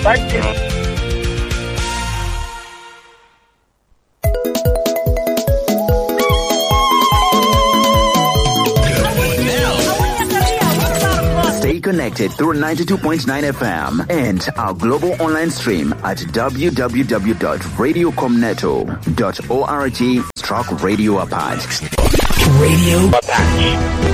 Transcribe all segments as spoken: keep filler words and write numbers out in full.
Thank you. Stay connected through ninety-two point nine F M and our global online stream at w w w dot radio com neto dot org stroke radio apac. Radio Apac.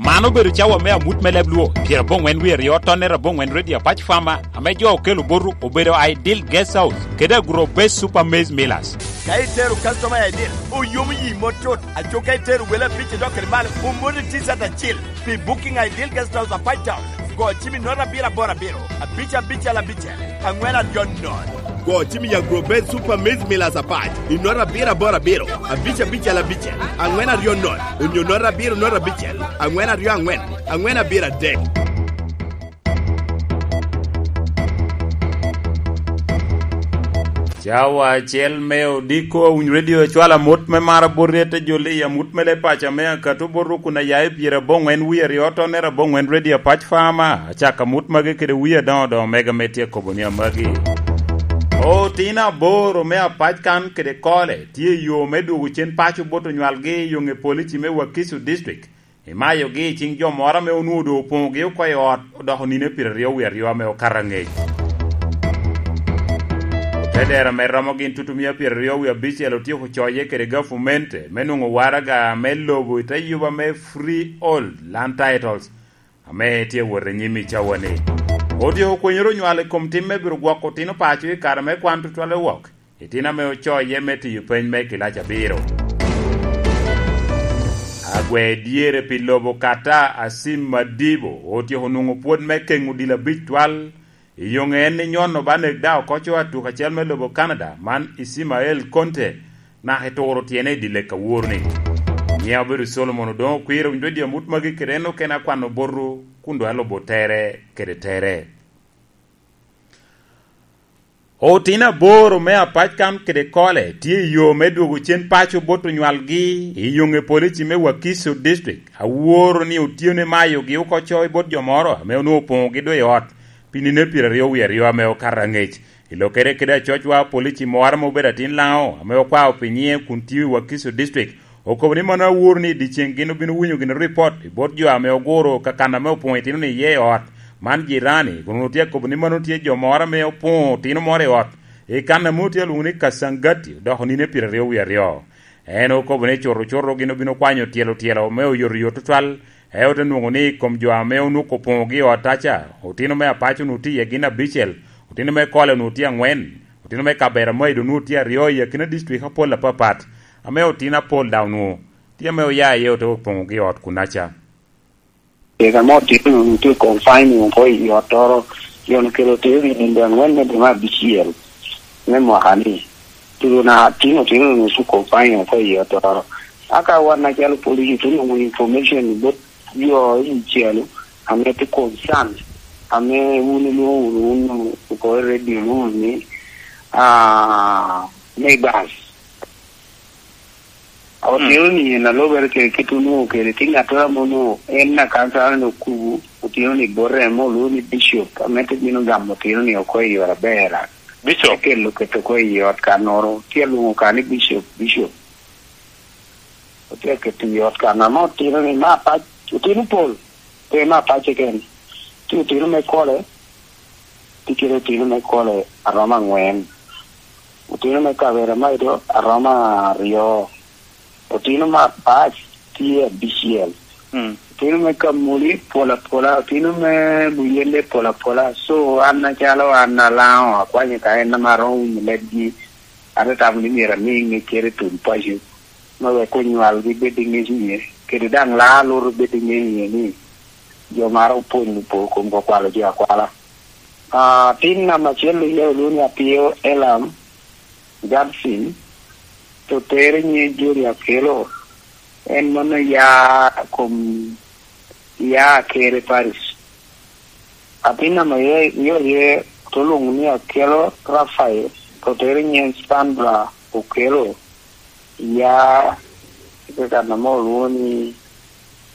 Man obedo cawa me amut me leb Luo, pyeraboŋwen wie aryo tonnere aboŋwen Radio Apac Farmer, ame jo okelo botwu obedo Ideal Guest House kede Agro Base Super Maize Millers. Ka itero customer i Ideal, oyomo yi mot cut. Aco ka itero wele abic idok kede malo, omoti T-shirt acil. Pi booking a Ideal Guest House Apac Town, go cim i note abiro aboro abiro, abic abicel abicel, aŋwen aryo nono. Go cim i Agro Base Super Maize Millers Apac i note abiro aboro abiro, abic abicel abicel, aŋwen aryo nono, onyo note abiro note abicel, aŋwen aryo aŋwen, aŋwen abiro adek. Cawa acel me odiko, Awiny Radio ecwalo amut me mar abot ryete joli, amut me leb paco ame akato bot rukun a ya i pyeraboŋwen wie aryo tonnere aboŋwen Radio Apac Farmer. Acako amut magi kede wie adoŋo doŋo mega me tye kobo ni amagi. Otino aboro me Apac kan kede Kole tye i yo me dwogo cen paco bot onywalgi i yo ŋe polici me Wakiso District. Imayogi i ciŋ jo moro ame onwoŋo doŋ opoŋogi oko i ot, odoko nino pyeraryo wie aryo ame okato aŋec. Otedero ame romo gin tutumia pyeraryo wie abicel otyeko coye kede gafumente me nwoŋo waraga me lobo i te yuba me Freehold Land Titles, ame tye wot i nyim i cawani. Otyeko kwenyere onywalo i kom tim me biro gwoko otino paco i kare me kwan tutwalle wok. Itino ame ocoye me tiyo peny me kilac abiro. Agwe dyere pi lobo kata Asim Madibo otyeko nwoŋo pwod me keŋ odilo abic twal. I yoŋe en ni nyono ba nek daŋ oko co atuk acel me lobo Canada, man Ismael Conte, naka eturo tyene i dye lek awor-ni. Nyiŋe obedo Solomon Odoŋo Okwir, owinyo dye amut magi kede en okene akwano botwu, kun doŋ alubo tere kede tere. Otino aboro me Apac kan kede Kole tye i yo me dwogo cen paco bot onywalgi i yoŋe polici me Wakiso District. Aworo ni otyene mayogi oko co i bot jo moro ame onwoŋo opoŋogi doŋ i ot pi nino pyeraryo wie aryo ame okato aŋec. I lokere kede acocwa, polici moro ame obedo atin Laŋo ame okwao pi nyiŋe kun tio i Wakiso District, okobo ni mano awor ni i dyeceŋ gin obino winyo gin ripot i bot jo ame oguro ka kan ame opoŋo itino-ni iye i ot. Man jirani kun onwoŋo tye akobo ni mano tye jo moro ame opoŋo otino moro i ot i kan ame otye alwoŋo ni Kasangati, odoko nino pyeraryo wie aryo. En okobo ni cuto cuto gin obino kwanyo tyelo tyelo me oyotoyot tutwal, en ote nwoŋo ni i kom jo ame onwoŋo opoŋogi i ot aca, otino me Apac onwoŋo tye iye gin abicel, otino me Kole onwoŋo tye aŋwen, otino me Kaberamaido onwoŋo tye aryo i akina dictrik apol apapat, ame otino apol daŋ onwoŋo tye ame oya iye ote opoŋogi i ot kunnaca. Kec ame otino onwoŋo tye confining oko i ottoro, jo okelo otino i nino aŋwen me dwe me abicel me mwaka-ni. Tuno na tino otino onwoŋo tye confining oko i ottoro. Aka wan acalo police otye nwoŋo information bot jo i calo ame tye concern, ame wun ilwoŋo wunu wun oko i radio wunu ni, ah, neighbors. Otino ni en alobere kede kit onwoŋo kede tye ŋattoro ame onwoŋo en akansala ni okubo otino ni bote ame olwoŋo ni bicop ame te bino gamo otino ni oko i ot aber. Bicop. Te kelo keto oko i ot kannoro, tye alwoŋo ka ni bicop, bicop. Otye aketo i ot kan ame otino ni me Apac, otino pol, pe me Apac keken. Tye otino me Kole, tye kede otino me Kole aromo aŋwen. Otino me Kaberamaido aromo aryo. Otino me Apac tye abicel. Mm. Otino me Kamuli pol apola, otino me Buyende pol apola. So, an acalo an Alaŋo akwanyo ka en ame aromo winyo lebgi, ate tamo ni myero ami ŋeccere i tul paco, me wek onywalgi bed i ŋec iye, kede daŋ laa lutu bed i ŋec iye ni jo maro opwonyo po komgi okwalo jo akwala. Ah, tin namba acel iye olwoŋo ni Apio Elam Gadsin, to tere nyiŋe Jori Akelo, en mano ya kom ya Akere Parish. Atin ame ye, ye, ye, to lwoŋo ni Akelo Rafael, to tere nyiŋe Sandra Okelo, ya, i kan ame olwoŋo ni,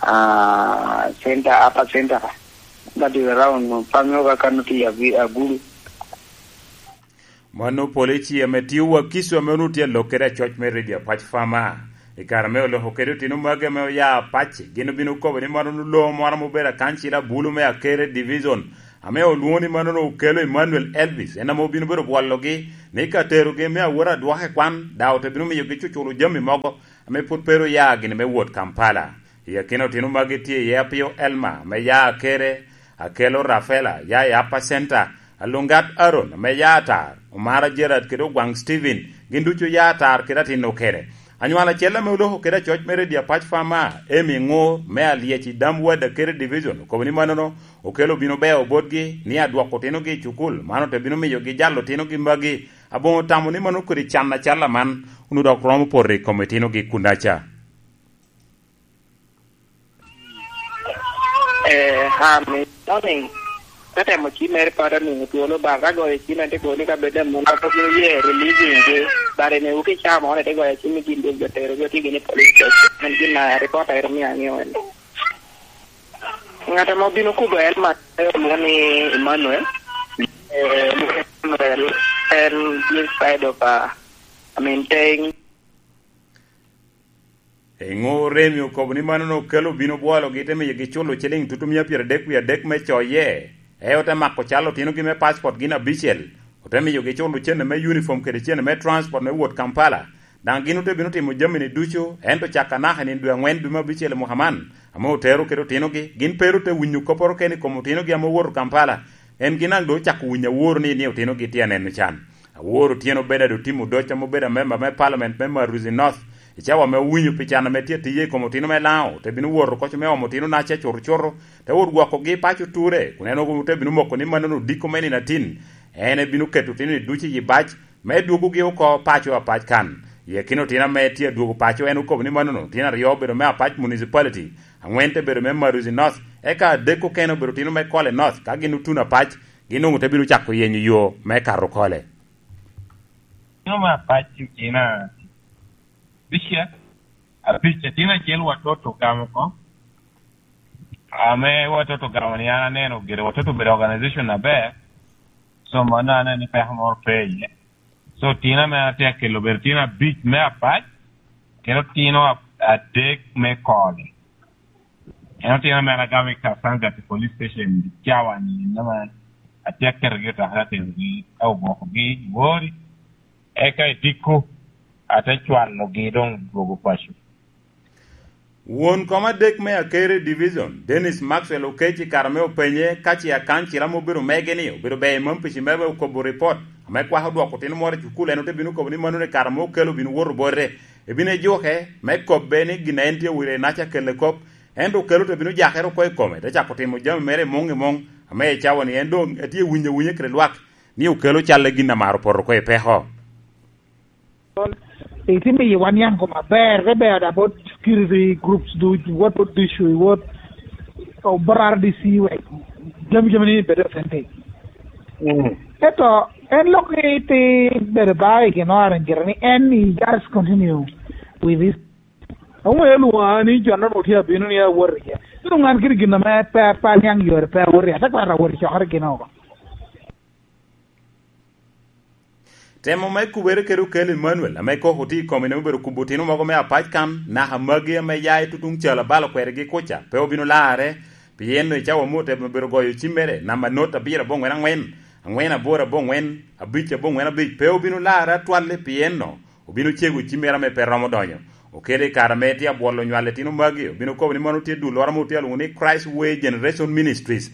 ah, Center, Upper Center. That is around Pamioka kan tye Avi-, Agulu. Mano polici ame tio Wakiso ame onwoŋo tye alok kede acoc me redio apac Fama. I kare ame oloko kede otino magi ame oya apac, gin obin okobo ni mano onwoŋo loo moro ame obedo akancil abulu me Akere Division, ame olwoŋo ni mano onwoŋo okelo Emmanuel Elvis, en ame obin obedo bwologi ni ka terogi me awot adwoke kwan, daŋ ote bino miyogi cuculo jami mogo ame pwod pe ru oya gini me wot Kampala. I akina otino magi tye iye Apio Elma ame ya Akere, Akelo Rafela ya i Upper Center, Alungat Aaron ame ya Atar, Omara Gerard kede Ogwaŋ Stephen, gin ducu ya Atar kede atin okene. Anywalo acel ame oloko kede acoc me redio apac Fama, Amy Ŋur me Alyec i Dam Ward Akere Division, okobo ni manono okelo bino beo botgi ni adwoko otinogi i cukul, man ote bino miyogi jalo otinogi magi. Aboŋo tamo ni mano kodi can acal aman onwoŋo dok romo poto i kom itinogi kunaca. Eh, Hamis, morning. Ka temo cim mere pat amiŋo twolo ba ka goyo cim ate koni ka bed amuno ka bino ye releasing gi. Bare ne wuki chamo ne te goyo cim gin dog jotero gi otigi ni police station. En gin na report aero mi ang'eyo en. Ng'at ame obino kubo en ma olwoŋo ni Emmanuel. Eh, Emmanuel en this side of, uh, I mean, Teng. Eŋo Remi okobo ni mano okelo obino bwologi te miyogi culo ciliŋ tutu mia pyeradek wie adek me coye, e ote mako cal otinogi me paspot gin abicel, ote miyogi culo cene me uniform kede cene me transport me wot Kampala. Daŋ gin ote bino timo jami-ni ducu, ento cak anaka i nino dwe aŋwen dwe me abicel i mwaka man, ame otero kede otinogi, gin pe ru te winyo kopporo kene i kom otinogi ame owoto Kampala. En gin daŋ doŋ ocako winyo awor ni, ni otinogi tye aneno can. Awor Otyeno Bernard Otim Odoc ame obedo amemba me Parliament me Maruzi North, i cawa ame owinyo pi can ame tye atiye i kom otino me Laŋo, te bino wot oko me omo otino naca cuto cuto, te wot gwokogi i paco ture, kun en ote bino moko ni mano odiko me nino atin. En ebino keto otino-ni ducu i yi bac, me dwogogi oko paco apac kan. I akina otino ame tye adwogo paco, en okobo ni manono otino aryo obedo me Apac Municipality, aŋwen te bedo me Maruzi North, eka adek okene obedo otino me Kole North. Ka gin otuno Apac, gin doŋ ote bino cako yenyo yo me kato Kole. Otino me Apac otino abica, abic, otino acel watoto gamo oko. Ame watoto gamo ni an aneno gire, watoto bedo organization aber, so mano aneno ni peko moro pe iye. So otino ame atye akelo obedo otino abic me Apac, kede otino a-, adek me Kole. En otino ame an agamo i Kasangati Police Station i cawa-ni, en ame atye aketogi i otaka, aterogi, ka ogwokogi i Wori, eka i Dikko ate cwalogi doŋ dwogo paco. Won kom adek me Akere Division, Dennis Maxwell Okec, i kare ame openye ka ce akancila ame obedo mege-ni obedo ber i mam pici mere, okobo ripot ame kwako dwoko otino moro i cukul, en ote bino kobo ni mano i kare ame okelo obino woto bote, ebino ejuke me kobbe ni gin a en tye owilo i naca kelle kop, ento okelo te bino jakere oko i kome, te cako timo jami mere i muŋ i muŋ, ame i cawa-ni en doŋ etye winyo awinya kede lwak ni okelo calle gin amaro poto oko i peko. Itimo i wan yan kom aber, te ber da bot security groups du, what, what do you, what, oh, bot R D C, wek jami, jami ni bedo authentic. Mm. Eto, en lok ni ti bedo ba i gin orange ni en ni just continue with this. Aŋo elwoŋa ni jon no tye abino ni awot iye. Ino ŋan kiri gin ame pe, pe aniaŋ yore pe awot iye. Ate kwara awot i cokere gin oko. Temo me kubere kede okel Emmanuel, ame koko tye i kome, ne obedo kubo otino mogo me Apac kan, naka magi ame ya i tutuŋ cal abalo kwedgi kuca, pe obino larre, pien i cawa mot ame obedo goyo cimmere, namba not abiro aboŋwen aŋwen, aŋwen aboro aboŋwen, abic aboŋwen abic, pe obino larre atwal-li, pien no, obino cego cimmere ame pe romo donyo. Okele i kare ame tye abwolo nywal etino magi, obino kobo ni mano tye dulloro ame otye alwoŋo ni Christ Way Generation Ministries.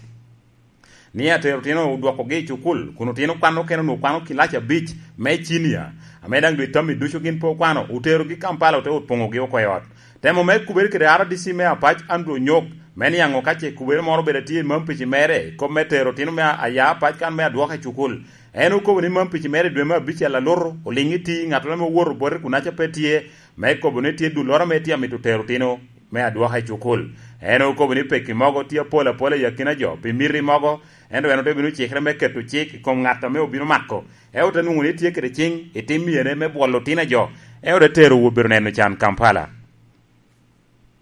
Ni atero otino odwokogi i cukul, kun otino kwan okene onwoŋo kwano kilac abic me cinia, ame daŋ dwe tammi ducu gin pe okwano, oterogi Kampala, ote opoŋogi oko i ot. Temo me kubere kede R D C me Apac, Andrew Onyok, me niaŋ ka ce kubere moro obedo atye i mam pici mere, kop me tero otino me a-, aya Apac kan me adwoke i cukul. En okobo ni mam pici mere i dwe me abicel alutu, oliŋ iti, ŋattoro ame owoto bote kun aca pe tye, me kobo ni tye dulloro ame tye amito tero otino me adwoka i cukul. En okobo ni pekki mogo tye apol apola i akina jo pi miti mogo, ento en ote bino cikere me keto cik i kom ŋat ame obino mako, en ote nwoŋo ni tye kede ciŋ i tim myere me bwolo otino a jo, en ote tero obedo neno can Kampala.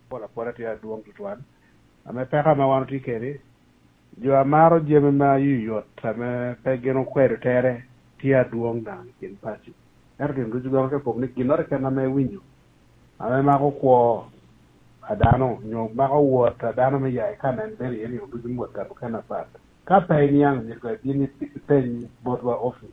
Apol apola tye adwoŋ tutwal. Ame peko ame wan otye kede, jo a maro jami ma yoyot ame pe gin okwedo tere, tye adwoŋ daŋ i kin paco. Ento gin ducu dok te kobo ni ginnoro keken ame iwinyo, ame mako kwo a dano, onyo mako wot a dano me ya i kan en bene iye nino ducu mwot kare mukene apat. Ka pe iniaŋ, myero ibin ipeny botwa opic.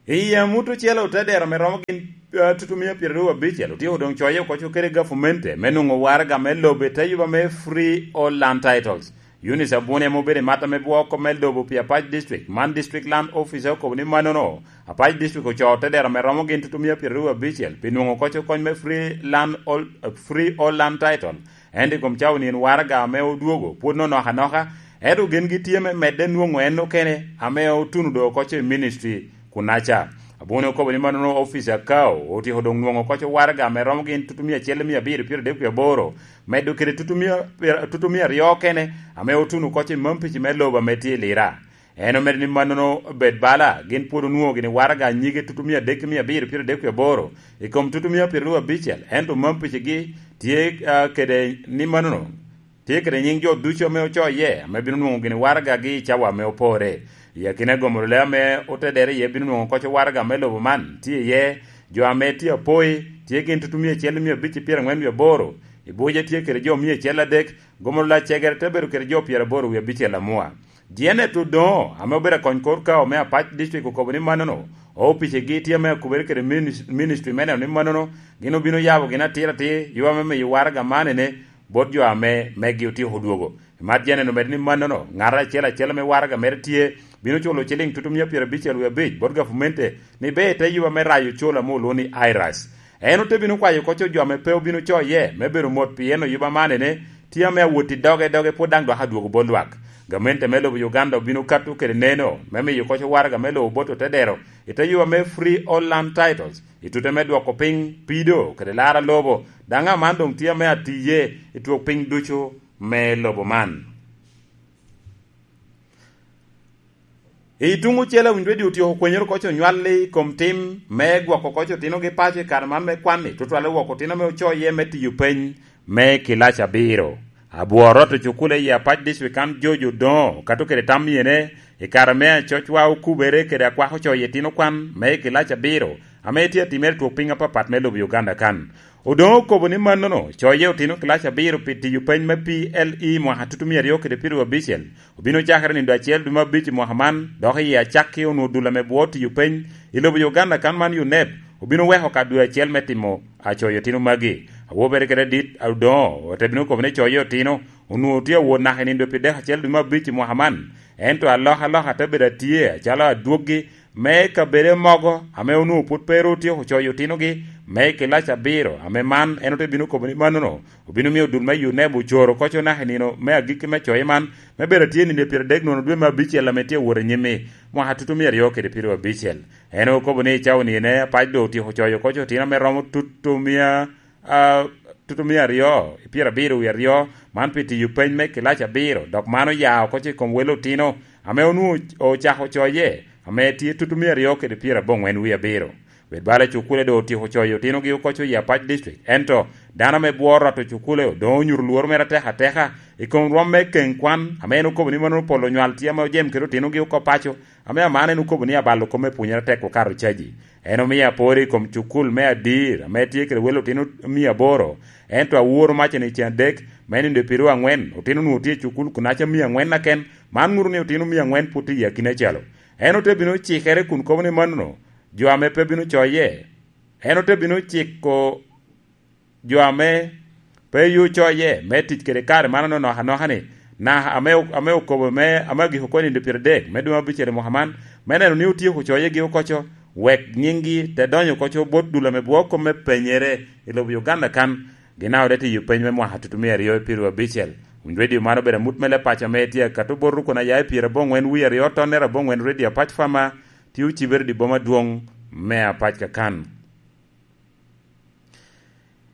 I amut ocele otedero me romo gin, eh, tutumia pyeraryo abicel otyeko doŋ coye oko kede gafumente me nwoŋo waraga me lobo i te yuba me Free All Land Titles. Eunice Abuni ame obedo i mat ame bwoko me lobo pi Apac District, man District Land Officer okobo ni mannono, Apac District ocoo otedero me romo gin tutumia pyeraryo abicel pi nwoŋo oko kony me Free Land All, Free All Land Title. Ento i kom cawa nino waraga ame odwogo pwod onok anoka, ento gin gitye me medde nwoŋo en okene ame otuno doŋ oko i ministry kunnaca. Abuni okobo ni mannono opica Kao otyeko doŋ nwoŋo oko waraga ame romo gin tutumia acel mia abiro pyeraryo adek wie aboro, medo kede tutumia, tutumia aryo okene ame otuno oko i mampici me lobo ame tye i Lira. En omedo ni mannono obed bala, gin pwod onwoŋo gini waraga anyige tutumia adek mia abiro pyeraryo adek wie aboro i kom tutumia pyeraryo abicel, ento mampicigi tye, ah, kede ni mannono tye kede nyiŋ jo ducu ame ocoye, ame bino nwoŋo gini waragagi i cawa ame opore. I akina gomoro le ame otedere iye bino nwoŋo oko waraga me lobo man, tye iye jo ame tye apoi, tye gin tutumia acel mia abic pyerangwen wie aboro, i Buja tye kede jo mia acel adek, gomoro le acegere te bedo kede jo pyeraboro wie abicel amua. Janet Odoŋo, ame obedo akony kor Kao me Apac District, okobo ni mannono, opicegi tye ame akubere kede minis-, ministry me neno ni mannono gin obino yabo gin atir atir, yo ame miyo waraga man ene bot jo ame megi otyeko odwogo. Mat Janet omedo ni mannono, ŋat acel acel ame waraga mere tye, bino culo ciliŋ tutumia pyerabicel wie abic bot gafumente, ni ber te yuba me rayo col ame olwoŋo ni iras. En ote bino kwayo oko jo ame pe obino coye me bedo mot, pien oyuba man ene tye ame awot i doge doge, pwod daŋ dok adwogo bot lwak. Gamente me lobo Uganda obino kato kede neno me miyo oko waraga me lobo bot otedero i te yuba me Free All Land Titles, i tute me dwoko piny pido kede laro lobo. Daŋ aman doŋ tye ame atiye i twok piny ducu me lobo man. I tuŋ ocele, Awiny Radio otyeko kwenyere oko onywal i kom tim me gwoko oko otinogi paco i kare man me kwan-ni, tutwalle woko otino ame ocoye me tiyo peny me kilaci abiro. Abwor rot ocukule i Apac District kan George Odoŋo kato kede tam myene i kare me acocwa okubere kede akwako coye itino kwan me kilaci abiro ame tye atimere i twok piny apapat me lobo Uganda kan. Odoŋo okobo ni mannono coye otino kilaci abiro pi tiyo peny me P L E mwaka tutumia aryo kede pyeraryo abicel. Obino cakere nindo acel dwe me abic i mwaka man, dok i acakki onwoŋo dul ame bwo tiyo peny i lobo Uganda kan man, UNEP, obino weko ka dwe acel me timo acoyo otino magi. Awobere kede adit Odoŋo ote bino kobo ni coyo otino onwoŋo tye awot naka i nindo pi dek acel dwe me abic i mwaka man, ento alokaloka te bedo atye acalo adwoggi me kabedo mogo ame onwoŋo pwod pe ru otyeko coyo otinogi me kilaci abiro, ame man en ote bino kobo ni mannono obino miyo dul me UNEP ocoro oko naka i nino me agikki me coye man, me bedo atye nino pyeradek nono dwe me abicel ame tye awot anyim-mi, mwaka tutumia aryo kede pyeraryo abicel. En okobo ni i cawa nino Apac doŋ otyeko coyo oko otino ame romo tutumia, ah, tutumia aryo i pyerabiro wie aryo, man pi tiyo peny me kilaci abiro, dok man oya oko i kom wel otino ame onwoŋo ocako coye, ame tye tutumia aryo kede pyeraboŋwen wie abiro. Bed bala cukule doŋ otyeko coyo otinogi oko i Apac District, ento dano ame bworo rot ocukule doŋ onyuto lworo mere atek ateka i kom rwom me keŋ kwan, ame en okobo ni mannono pol onywal tye ame ojem kede otinogi oko paco, ame aman en okobo ni abalo kop me pwonyere tek okato caji. En omio apor i kom cukul me Adir, ame tye kede wel otino mia aboro, ento aworo maca ni cen adek me nindo i pyeraryo angwen, otino onwoŋo tye i cukul kunaca mia angwen aken, man ŋuto ni otino mia angwen pwod tye i akina calo. En ote bino cikere kun kobo ni mannono, jo ame pe bino coye. En ote bino ciko jo ame pe yo coye me tic kede kare man anonok anoka-ni, naka ame, ame okobo me, ame agiko oko i nindo pyeradek me dwe me abicel i mwaka man, me neno ni otyeko coyegi oko, wek nyiŋgi te donyo oko bot dul ame bwoko me penyere i lobo Uganda kan, gin a ode tiyo peny me mwaka tutumia aryo i pyeraryo abicel. Winy Radio man obedo amut me leb paco ame tye akato bot rukon aya i pyeraboŋwen wie aryo tonne raboŋwen Radio Apac Fama, tye ocibere i boma adwoŋ me Apac kakan.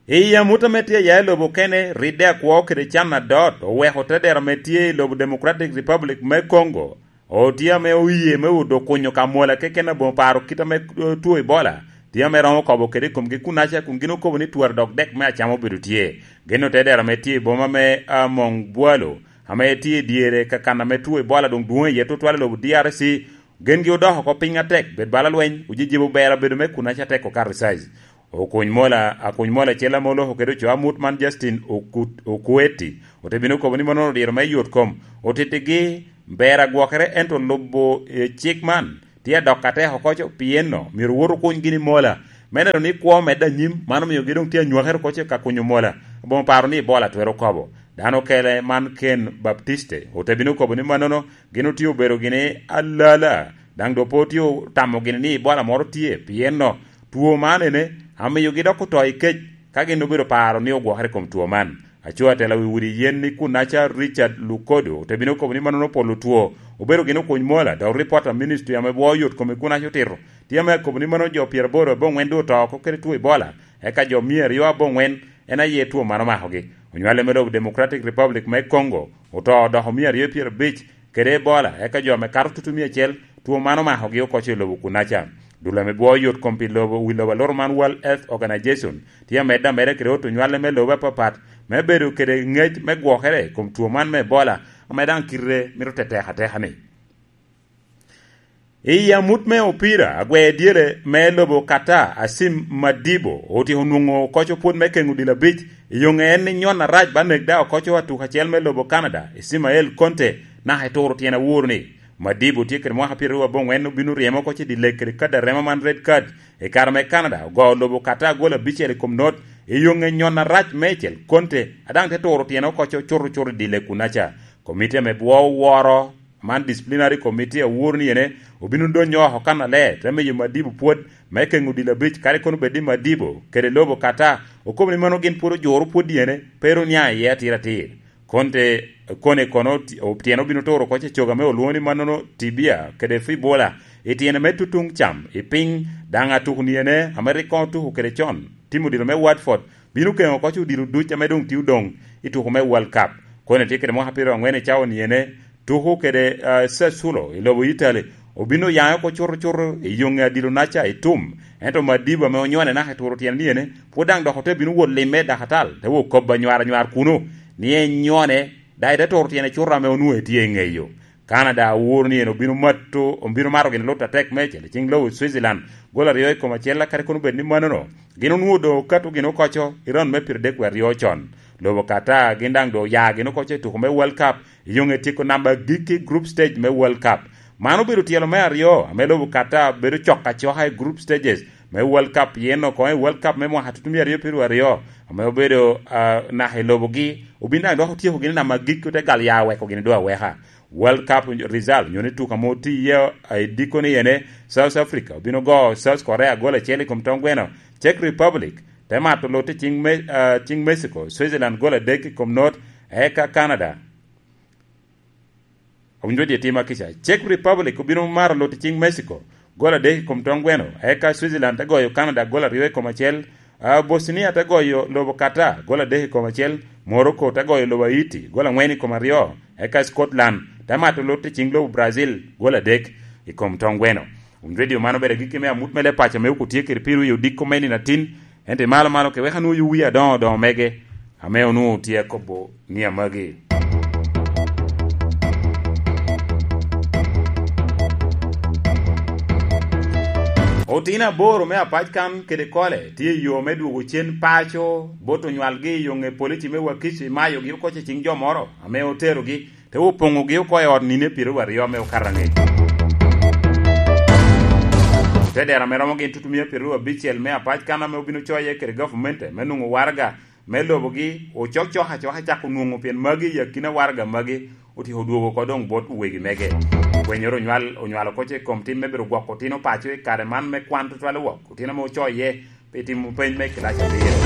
I amut ame tye aya i lobo okene, ridde akwo kede can adot oweko tedero ame tye i lobo Democratic Republic me Congo, otye ame oye me odo kunyo ka mwola keken aboŋo paro kit ame, eh, two Ebola, tye ame romo kobo kede i komgi kunaca, kun gin okobo ni twara dok dek me acama obedo tye. Gin otedero ame tye i boma me, ah, Mongbualo, ame tye i dyere ka kan ame two Ebola doŋ dwoŋ iye tutwal i lobo D R C, gengi odoko oko piny atek, bed bala lweny, ojijibo ber abedo me kun aca tek okato i size. Okuny mola, akuny mola acel ame oloko kede ocoo amut man Justin Okut-, Okueti, ote bino kobo ni mannono odiro me yot kom, otittigi ber agwokere, ento lubo, eh, cik man tye adok atek oko co, pien no myero wot okuny gini mola. Me neno ni kwo medde anyim, man omio gi doŋ tye anywakere oko co ka kunyo mola. Aboŋo paro ni Ebola twero kobo. Dano okele man Ken Baptiste, ote bino kobo ni mannono gin otye obedo gini alala, daŋ doŋ pe otye otamo gini ni Ebola moro tye, pien no two man ene, amiyogi dok oto i kec, ka gin obedo paro ni ogwokere i kom two man. Aco atela wi udi yen ni kunnaca Richard Lukodo ote bino kobo ni mannono polo two, obedo gin okuny mola, dok ripot a ministry ame bwo yot kome kunnaca otito, tye ame akobo ni mannono jo pyeraboro aboŋwen doŋ oto oko kede two Ebola, eka jo mia aryo aboŋwen en aye two man omakogi. Onywale me lobo Democratic Republic me Congo oto odoko mia aryo pyerabic kede Ebola, eka jo ame kato tutu mia acel two man omakogi oko co i lobo kunnaca. Dul ame bwo yot kom pi lobo, wi lobo aloro man World Health Organization tye amedde ameda kede ot onywale me lobo apapat me bedo kede ngec me gwokere i kom two man me Ebola, ame daŋ kite mito tetek ateka ni. I amut me opira, agwer dyere me lobo Qatar, Asim Madibo, otyeko nwoŋo koco pwod me keŋo dilo abic, i yoŋe en ni nyon arac ba nek daŋ okoco atuk acel me lobo Canada, Ismael Conte, naka eturo tyen awor ni, Madibo tye kede mwaka pyeraryo aboŋwen, obino ryemo oko ce dilek kede kad arema man red card. I kare me Canada, ogo lobo Qatar gol abicel i kom not, i yoŋe nyon arac meicel, Conte, a daŋ te turo tyene oko co cuto cuto i dilek kunnaca. Komiti ame bwo woro man disciplinary committee awor ni ene obino donyo oko kannaler, te miyo Madibo pwod me keŋo dilo abic, kadi kono bed ni Madibo kede lobo Qatar okobo ni mano gin pwod ojuro pwod ene, pe ru niaŋ iye atir atir. Konte, kone kono ti-, o-, tyene obino turo oko ce coga me olwoŋo ni mannono tibia kede fibula, i tyene me tutuŋ cam, i piny, daŋ atuk ni ene ame rik koŋ otuko kede con, timo dilo me Watford, bino keŋo oko ce odilo duc ame doŋ tye odoŋ i tuko me World Cup. Kone tye kede mwaka pyeraryo angwen i cawa ni ene, tuko kede, ah, Sassuolo i lobo Italy, obino yaŋe oko cuto cuto i yoŋe adilo naca i tum. Ento Madiba ame onyone naka eturo tyene ni ene, pwod daŋ dok ote bino wot limme dakatal, te wot kobba nywar anywar kuno, ni enyone, daŋ ete turo tyene cuto ame onwoŋo etye i ŋeyo. Canada awor ni en obino mato, obino mato gin lut atek meicel i cing lobo Switzerland, gol aryo i kom acel, kadi kono bed ni mannono, gin onwoŋo doŋ okato gin okoco i round me pyeradek wie aryo con. Lobo Qatar gin daŋ doŋ oya gin okoco i tuko me World Cup, i yoŋe tyeko namba agikki group stage me World Cup. Man obedo tyelo me aryo ame lobo Qatar bedo cok acoka i group stages me World Cup, pien oko i World Cup me mwaka tutumia aryo pyeraryo aryo, ame obedo, ah, naka i lobogi, obin daŋ dok otyeko gin i namba agikki, ote gal ya weko gin doŋ aweka. World Cup result, nyo ni tuka mo tye iye, ah, i dikko ni ene, South Africa obino go South Korea gol acel i kom tong gweno, Czech Republic te mato lut i cing Me-, ah, cing Mexico, Switzerland gol adek i kom not, eka Canada. Awinjo je tima kica. Czech Republic obino maro lut i cing Mexico, gol adek i kom tong gweno, eka Switzerland te goyo Canada gol aryo i kom acel, ah, Bosnia te goyo lobo Qatar gol adek i kom acel, Morocco te goyo lobo Haiti gol angwen i kom aryo, eka Scotland te mato lut i cing lobo Brazil gol adek i kom tong gweno. Winy redio man obedo agikki me amut me leb paco me okutye kede piro i odiko me nino atin, ento i malo malo ke wek anwoŋ wi adoŋo doŋo mege, ame onwoŋo tye akobo ni amagi. Otino aboro me apac kan kede kole tye i yo me dwogo cen paco bot onywalgi i yo ŋe polici me Wakiso, imayogi oko ce cing jo moro ame oterogi, te opoŋogi oko i ot nino pyeraryo aryo ame okato angec. Te dero ame romo gin tutumia pyeraryo abicel me apac kan ame obino coye kede gavumenti me nwoŋo waraga me lobogi, ocok cok acoka cako nwoŋo, pien magi i akina waraga magi otyeko dwogo oko doŋ bot wegi mege. Pwenyoro onywal, onywalo oko ce i kom tim me bedo gwoko otino paco i kare man me kwan tutwal owok, otino ame ocoye pi timo peny me kilac abiro.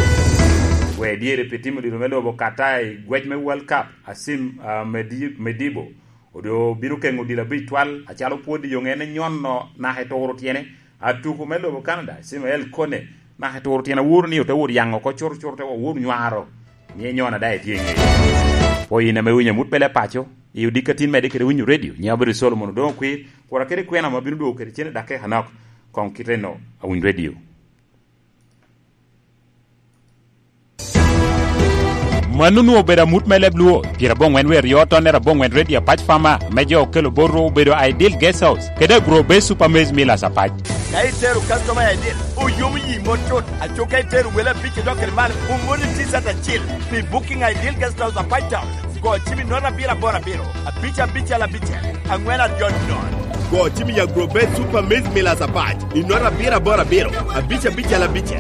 Gwe dyere pi timo dilo me lobo Qatar i gwec me World Cup, Asim, ah, Medi-, Medibo, odo bino keŋo dilo abic twal, acalo pwod i yoŋe en enyono naka eturo tyene. Atuko me lobo Canada, Ismael Kone, naka eturo tyene aworo ni ote wot yaŋo oko cuto cuto, te wot nywaro. Ni enyono daŋ etye i ŋeye. Pwo in ame winyo amut pele paco, i odiko atin medde kede winyo redio, nyiŋa obedo Solomon Odoŋo Kwir, kura kede kwena ma bino dwogo kede cene dakika nok, koŋ kite no, awiny redio. Mano onwoŋo obedo amut me leb Luo, pyerabongwen wie aryo tonnere abongwen Ready Apac Farmer, ame jo okelo botwu obedo Ideal Guest House, kede Agro Base Super Maize Millers Apac. Ka itero customer Ideal, oyomo yi mot cut. Aco ka itero wele abic idok kede malo, omoni T-shirt acil. Pi booking Ideal Guest House Apac Town, go cim i nota abiro aboro abiro, abic abicel abicel, angwen aryo nono. Go cim i Agro Base Super Maize Millers Apac, i nota abiro aboro abiro, abic abicel abicel.